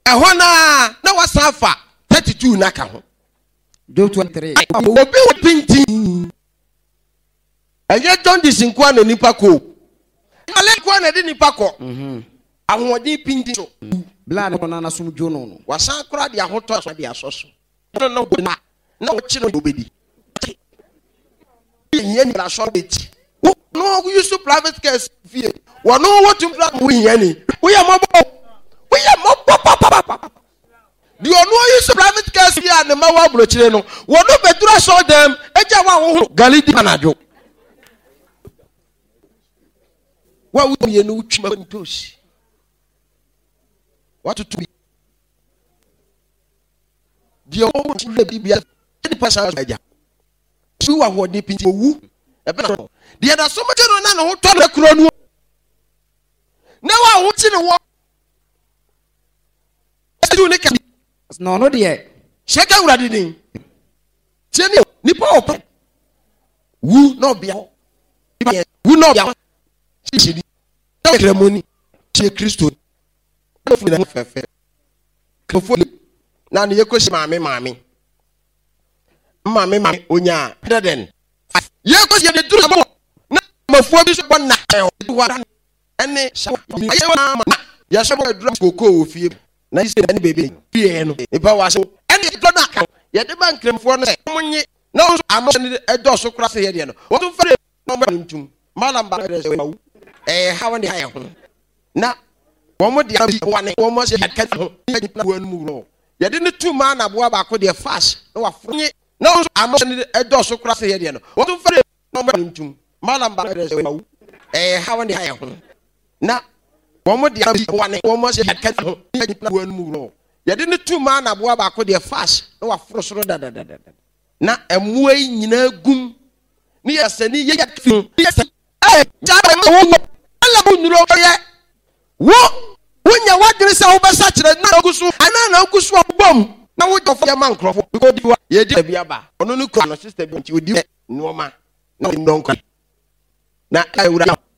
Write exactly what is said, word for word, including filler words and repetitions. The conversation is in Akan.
Ɛhɔ naa na wasan afa thirty two n'aka ho. Job twenty three. Obi wɔ pintin. Ɛnyɛ jaundice nkoa na nipa kɔ o. Ale nkoa na ɛde nipa kɔ. Mhm. Ahoɔden pintin so. Bla ne ɔno anasom dwo no no. Wasan kora de ahotɔ so de asɔ so. No no na na wɔkye no obedi. Yɛn ni asɔ bɛti. Wo no use private cars fie. Wɔn wɔtum kura mo hia ni. Woyɛ mɔbɔ. Woyɛ mɔbɔ papapapa. Deɛ ɔno use private cars fie a ne ma wɔ aburokyire no. Wɔn bɛduru asɔ dɛm egya wa ahohoro gali di anadwo. Wa wo mmienu wotwi ma ntosi. Watoto bi. Deɛ ɔwɔ wura bi bia nipa san agya. Su wɔ ahoɔden pinti owu. Ɛbɛn no. Deɛ n'asom gye no na ne ho tɔ no kuro no. Na wa ho kyi ne wɔ. Ɛdu ne ka. Na ɔno deɛ. Hyɛ ka Awurade din. Tie ne nipa ɔpɛ. Wu na ɔbea hɔ. Wu na ɔbea hɔ. Hyɛ ni. Na ɔkramoni. Hyɛ Kristo. Na ɔfiri ne ho fɛfɛ. Kristofo na ne yɛkɔsi maame maame. Maame maame onya hundred and five. Yɛkɔsi yɛde duru sama na mafoɔ bi so bɔ na ɛhɔ ɛne ayɛ ama na yɛsɛ bɔ aduru koko wɔ fie na sɛ ɛne bebe fie no nipa wɔ ase ɛne yɛdɔ no aka yɛde ba nkramofoɔ no sɛ wɔn nye na wɔn nso ano ne ɛdɔɔso kora sɛ yɛdeɛ no wɔn nso fɛrɛ na wɔn bɛ ntum malam ba ɛdɛ sɛ wɔn ɛyɛ ha wɔn de ayɛ ho na wɔn de abi wɔn ne wɔn ahyɛ yɛka ho ne yɛ wɔn mu wɔ yɛde ne tu maa na aboa baako deɛ fast na waforo nye na wɔn nso ano ne ɛdɔɔso kora sɛ yɛdeɛ no wɔn nso fɛrɛ na wɔn bɛ ntum malam ba ɛdɛ sɛ wɔn ɛyɛ ha wɔn de ayɛ ho na wɔn de abi wɔn ne wɔn ahyɛ yɛka ho ne yɛ wɔn mu wɔ yɛde ne tu maa na aboa baako deɛ fast na waforo soro dadadada na mmoa yi nyinaa gum ne yɛ sɛ ne yɛ yɛ fi yɛ sɛ ɛɛ gya bɛ ma wo ɛlɛ wo nuro yɛ wo wonya wadwene sɛ wobɛsa kyerɛ na ogu so anaa na ogu so abom na wo dɔfo yɛ ma nkurɔfo because odi wa yɛdi bi aba ɔno ne kura no sister bi nti odi nneɛma na ɔdi nnɔnkɔ na ɛwura